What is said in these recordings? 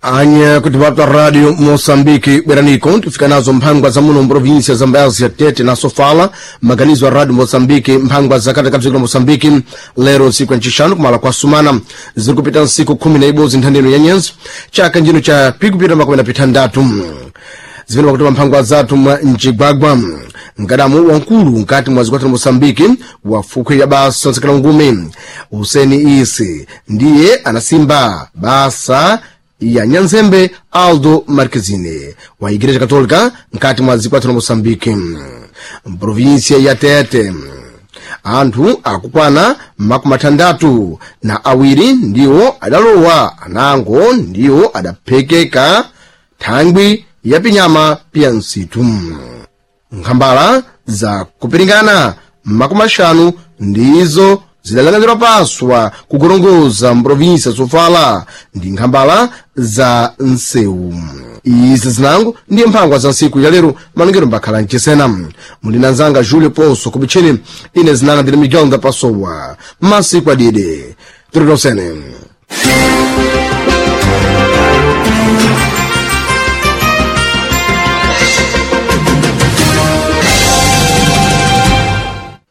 Anya kuti vapta Radio Moçambique bweraniko tifika nazo mphangwa za muno mprovinsia za Mbazi ya Tete na Sofala, maganizo a Radio Moçambique mphangwa za katikati dziko la Moçambique lero ntsiku ya ncixanu kumala kwa sumana ziri kupita ntsiku 11 nthandeno ya nyenzi chaka njino cha pikupita makumi na pithandatu zimene pakuti mphangwa zathu mwa mcigwagwa mkadamu wankulu nkati mwa zikwathu la Moçambique wa fukhwe ya basa nsekela ngume Huseni Isi ndiye anasimba basa ya nyanzembe Aldo Marquezine wa Igreja Católica nkati mwa zikwathu la Moçambique mprovinsia ya Tete anthu akukwana makumi athandatu na awiri ndiwo adalowa anango ndiwo adaphekeka thangwi ya pinyama piya msitu nkhambala za kupiringana makumi axanu ndizo zidalanganirwa paswa kugorongoza mprovinsia Sofala ndi nkhambala za nsewu izi zinango ndiye mphangwa za ntsiku ya lero malongero mbakhala mchisena muli na nzanga Julio Ponso kubitcheni ine zinanga ndine Miguel Ndapasowa masiku adide tiritosene.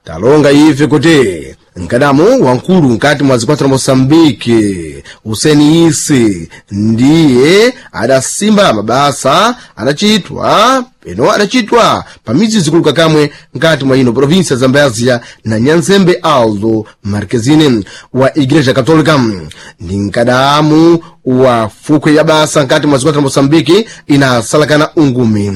Talonga ife kuti mkadamu wankulu nkati mwa zikwathu la Moçambique Huseni Isi ndiye adasimba mabasa adachitwa peno adachitwa pa midzi zikuluka kamwe nkati mwa ino provinsia za Zambézia na nyanzembe Aldo Marquezine wa Igreja Católica ndi mkadamu wa fukhwe ya basa nkati mwa zikwathu la Moçambique inasalakana ungumi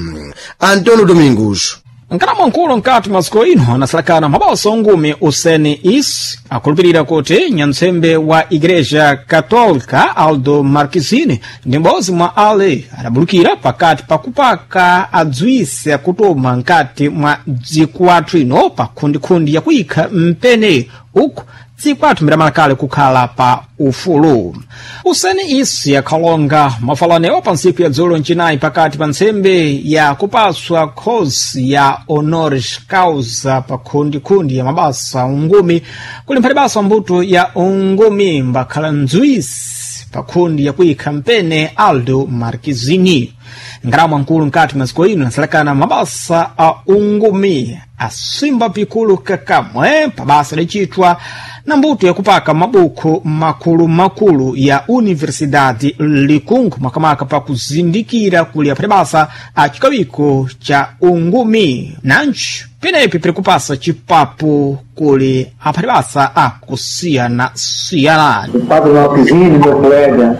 Antonio Domingos. Nkalamu nkulu nkati masiku ino anasalakana mabaso ongumi Useni Is akulupirira kuti nyantsembe wa Igreja Católica Aldo Marquezine ndi m'bodzi mwa ale adabulukira pakati pakupaka adzwise akutuma nkati mwa dziko athu ino pa khundikhundi yakuyikha mpene uku dziko athu mbiramalakale kukhala pa ufulu. Useni Isi akhalonga mafalanewo pa ntsiku ya dzulo ncinayi pakati pa ntsembe ya kupaswa khosi ya honoris causa pa khundikhundi ya mabasa ungumi kuli mphati basa mbuto ya ungumi mbakhala ndzwisi pa khundi yakuyikha mpene Aldo Marquezine. Ngalamu ankulu nkati maziko ino anasalakana mabasa a ungumi asimba pikulu kakamwe pabasa licitwa na mbuto yakupaka mabuku makulu-makulu ya Universidade Likungu makamaka pakuzindikira kuli aphati basa a cikawiko cha ungumi nanji penepi piri kupasa cipapu kuli aphati basa akusiyana-siyana. O Padre Marquezine, meu colega,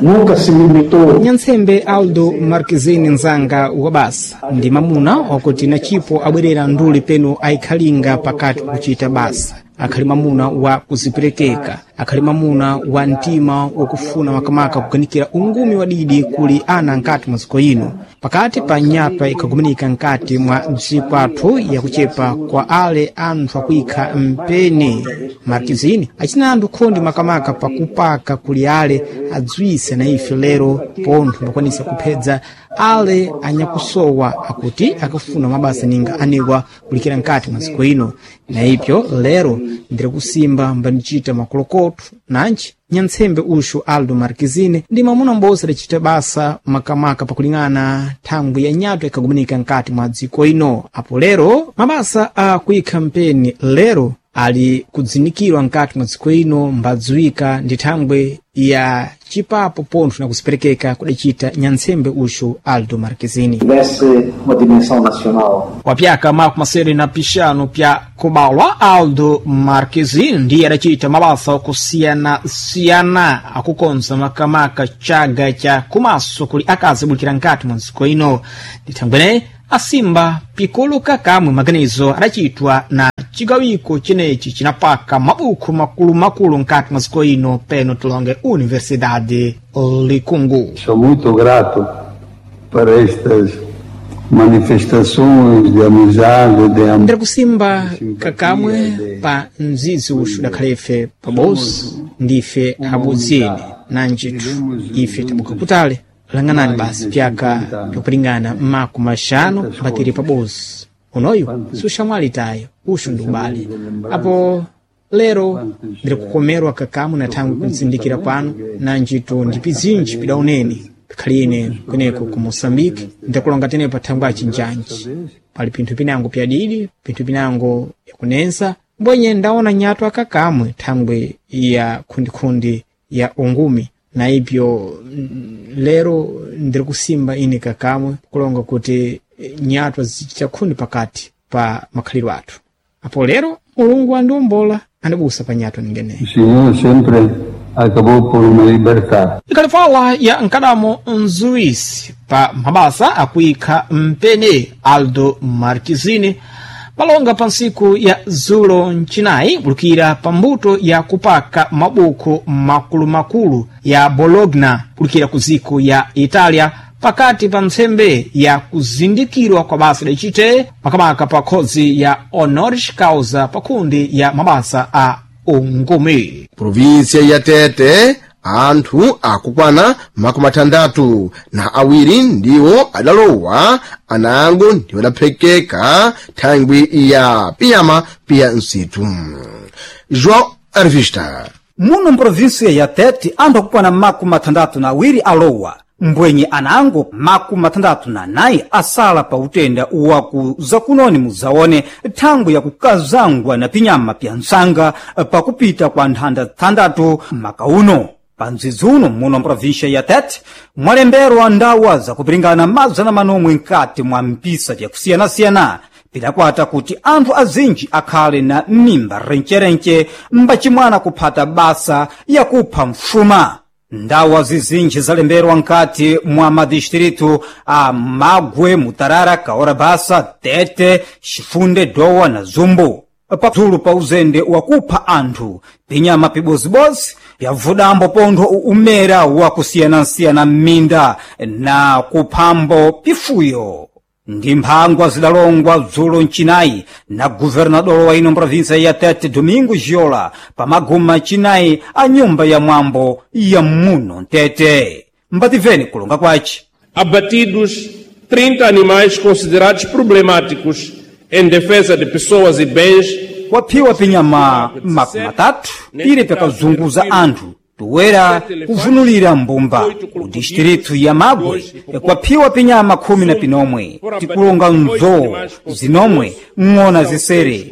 nunca se limitou. Nyantsembe Aldo Marquezine nzanga wa basa ndi mamuna wakuti na cipo abwerera nduli peno ayikhalinga pakati kuchita basa akhali mamuna wa kuziperekeka akhali mamuna wa mtima wakufuna makamaka kuganikira ungumi wa didi kuli ana nkati mwa dziko ino pakati pa nyapa ikhagumanika nkati mwa dziko athu yakuchepa kwa ale anthu akuyikha mpene Marquezine acina anthu khondi makamaka pakupaka kuli ale adzwise na ife lero pontho mbakwanisa kuphedza ale anyakusowa akuti akafuna mabasa ninga anewa kulikira nkati mwa dziko ino na ipyo lero ndiri kusimba mbanichita makulokotho nanji nyantsembe uxu Aldo Marquezine ndi mwamuna m'bodzi adacita basa makamaka pakuling'ana thangwi ya nyato ikhagumanika nkati mwa dziko ino apo lero mabasa a kuyikha mpeni lero ali kudzinikirwa nkati mwa dziko ino mbadziwika ndi thangwi ya cipapo pontho na kusiperekeka kudacita nyantsembe uxu Aldo Marquezine. Tivesse uma dimensão nacional. Wapyaka makumi masere na pixanu pya kubalwa Aldo Marquezine ndiye adacita mabasa okusiyana-siyana akukonza makamaka chaga cha kumaso kuli akazi abulikira nkati mwa dziko ino ndithangwene asimba pikulu kakamwe maganizo adacitwa na cigawiko ceneci cinapaka mabuku makulu-makulu nkati mwa dziko ino peno tilonge Universidade Likungu. Sou muito grato por estas manifestações de amizade, de amor. Ndiri kusimba kakamwe pa mzizi uxu dakhale ife pabodzi ndife abudzini nanjithu ife tabuka kutali lang'anani basi pyaka byakulingana makumi axanu mbatiri pabodzi unoyu siuxamwali tayo uxu ndi ubale apo Lero ndiri kukomerwa kakamu na thangwi kuntsindikira kwanu na ntchito ndi pizinji pidaoneni pikhaliyene kweneko ku Moçambique. Ndakulonga tene pa thangwi achinjanji pali pinthu pinango pyadidi, pinthu pinango byakunensa mbwenye ndaona nyatwa kakamwe thangwi ya khundikhundi ya ungumi na ipyo lero ndiri kusimba ine kakamwe kulonga kuti nyatwa zichita khundi pakati pa makhaliro athu. Apo lero Mulungu andiwombola, andibusa pa nyatwa ningeneyi. O Senhor sempre acabou por me libertar. Ikhalifala ya mkadamo mzuwisi pa mabasa akuikha mpene Aldo Marquezine palonga pa ntsiku ya zulo mcinayi kulukira pa mbuto ya kupaka mabuku makulumakulu ya Bologna kulukira ku ziko ya Italia pakati pa ntsembe ya kuzindikirwa kwa basa lacite makamaka pa khozi ya honoris causa pa kundi ya mabasa a ungumi. Província ya Tete anthu akukwana 62 ndiwo adalowa anango ndiwo adaphekeka thangwi ya piyama piya msitu. João Arvista. Muno mprovinsia ya Tete anthu akukwana 62 alowa, mbwenye anango 64 asala pa utenda waku zakunoni muzaone thangwi yakukazangwa na pinyama pya nsanga pakupita kwa nthanda thandatu maka uno. Pa mdzidzi uno muno mprovinsia ya Tete mwalemberwa ndawa zakupiringana 900 nkati mwa mpisa vyakusiyanasiyana pidakwata kuti anthu azinji akhale na mimba rencherenche mbachimwana kuphata basa yakupha mfuma. Ndawa zizinji zalemberwa nkati mwa madistritu a Magwe, Mutarara, Kaorabasa, Tete, Chifunde, Dowa na Zumbu. Pazulu pa uzende wakupha anthu pinyama pibozibozi pyavudambo pontho umera wakusiyanasiyana m'minda na kuphambo pifuyo. Ndi mphangwa zidalongwa dzulo mcinayi na guvernador wa ino mprovinsia ya Tete Domingo Giola pa maguma cinayi a nyumba ya mwambo ya muno Mtete. Mbativeni kulonga kwaci. Abatidos 30 animais considerados problemáticos em defesa de pessoas e bens. Waphiwa pinyama 30 pire pyakazunguza anthu toera kuvunulira mbumba ku distritu ya Magwe kwaphiwa pinyama 19 tikulonga nzowu zinomwe, ng'ona zisere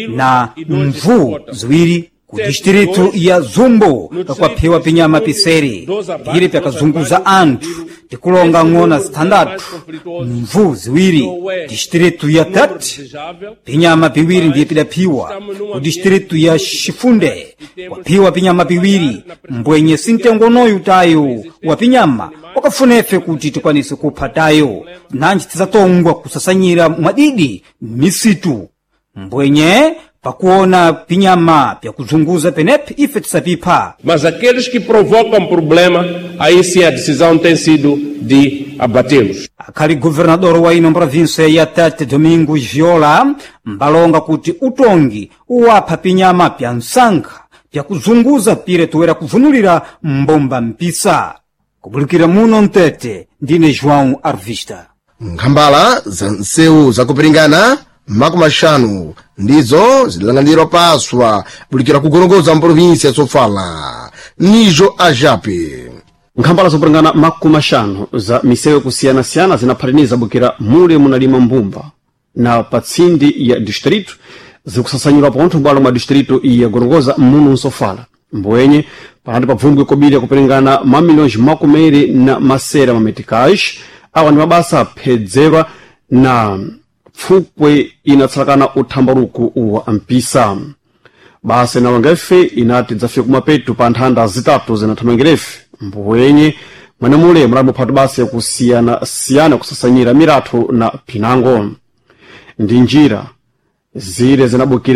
na mvu ziwiri. Ku distritu ya Zumbu kwaphiwa pinyama pisere pire pyakazunguza anthu tikulonga ng'ona zithandatu, mvu ziwiri. Distritu ya Tete pinyama piwiri ndiye pidaphiwa. Ku distritu ya Chifunde kwaphiwa pinyama piwiri mbwenye sintengonoyu tayo wa pinyama wakafunefe kuti tikwanise kupha tayo nanji tidzatongwa kusasanyira mwadidi misitu mbwenye pakuona pinyama pyakuzunguza penepe ife tisapipha. Mas aqueles que provocam problema, aí sim a decisão tem sido de abatê-los. Akhali guvernador wa ino provinsia ya Tete Domingos Viola mbalonga kuti utongi uwapha pinyama pya msankha pyakuzunguza pire toera kuvunulira mbomba mpisa. Kubulikira muno Mtete, ndine João Arvista. Nkhambala za nsewu zakupiringana 50 ndizo zidalanganirwa paswa bulikira kugorongoza mprovinsia ya Sofala. Nijo Ajape. Nkhambala zopulangana 50 za misewu kusiyanasiyana zinaphataniza bukira mule munalima mbumba na patsindi ya distrito zikusasanyidwa pontho m'bwalo mwa distrito ya Gorongosa muno nsofala. Mbwenye panati pabvumbwe kobiri yakuperingana mamilhões makumeri na masera mameticais. Awa ndi mabasa aphedzerwa na pfukwe inatsalakana uthambaruku wa mpisa. Basa inalonga ife inati dzafika kumapeto pa nthanda zitatu zinathamangirefe. Mbwenye mwenemule mulambo basa yakusiyanasiyana kusasanyira miratho na pinango ndi njira zile zinabukira.